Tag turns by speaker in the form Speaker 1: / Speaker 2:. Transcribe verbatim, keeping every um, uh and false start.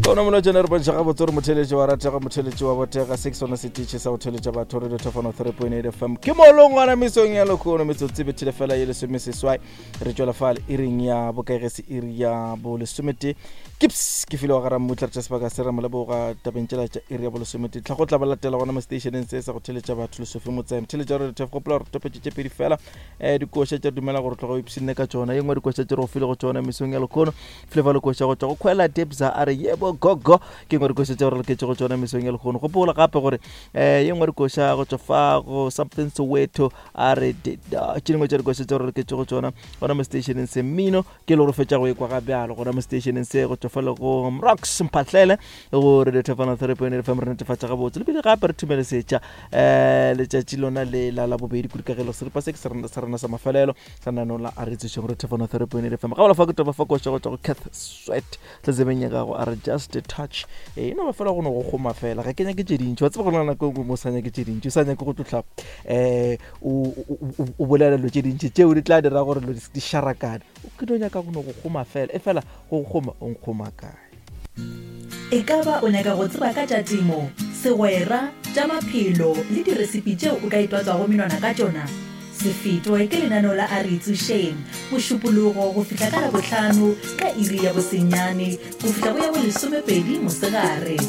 Speaker 1: Ona molotšana re bontšha gabotse gore motheletši wa ratega, motheletši wa botega. Se ke sona setiši sa go theletša batho, Radio Thefano three point eight F M. Ke molongwana mesong ya lekgono, metsotso e bethile fela ye lesomeseswai, re tšwela fale iring ya bokaegese, iri ya bolesometee. Kips ke file wa gara mmutla, re tša sebaka se re moleboga tabeng tšela tša iri ya bolesometee. Tlha go tla ba latela gona mo stationeng se sa go theletša batho, Lesofe Motsae, motheletša Radio Thef. Gopola gore topetše tše pedi fela um dikoša tša dumela gore tloga o ipshinne ka tšona. Ye nngwe dikoša tše re go file go tšona mesong ya lekgono, Flavor lekoša go tšwa go Khwela Debza, a re yebo gogo, ke nngwe dikoša tše re loketše go tšona mesong ya lekgono. Gopola gape gore um ye nngwe dikoša go tšwa fa go Something Soweto, a re tše dingwe tša dikoša tše re loketše go tšona gona mo stationeng se. Mmino ke le gore fetša go ekwa ga bjalo gona mo stationeng se go tšwa fa le go Rocks Mphatlele go Radio Thefano three point eight F M. Re netefatša gabotse lebile gape re thumelesetša um letšatši lona le la labobedi kudu ka gelo seripa se ke sa rena sa mafelelo sa nano la a re tsošeng Radio Thefano three point eight F M. Ga bola fa ke toba fa koša go tšwa go Cath Sweat tletsebeng ya gago, a re just a touch. E no ba fela go no go kgoma fela, ga ke nyake tše dintši. Wa tseba go na nako e nngwe mo sa nyake tše dintši, o sa nyake go tlohla um o bolela dilo tše dintši tšeo di tla dira gore dilo di šarakane. O ke no nyaka go no go kgoma fela, e fela go kgoma o nkgoma kae?
Speaker 2: E ka ba o nyaka go tseba ka tša temo, segwera, tša maphelo le diresipi tšeo o ka itwatswago menwana ka tšona? Se fetwe ke lenaneo la A Re Itsošeng, Mošupologo go fihla ka Labohlano ka iri ya bosenyane go fihla go ya bolesomepedi mosegare.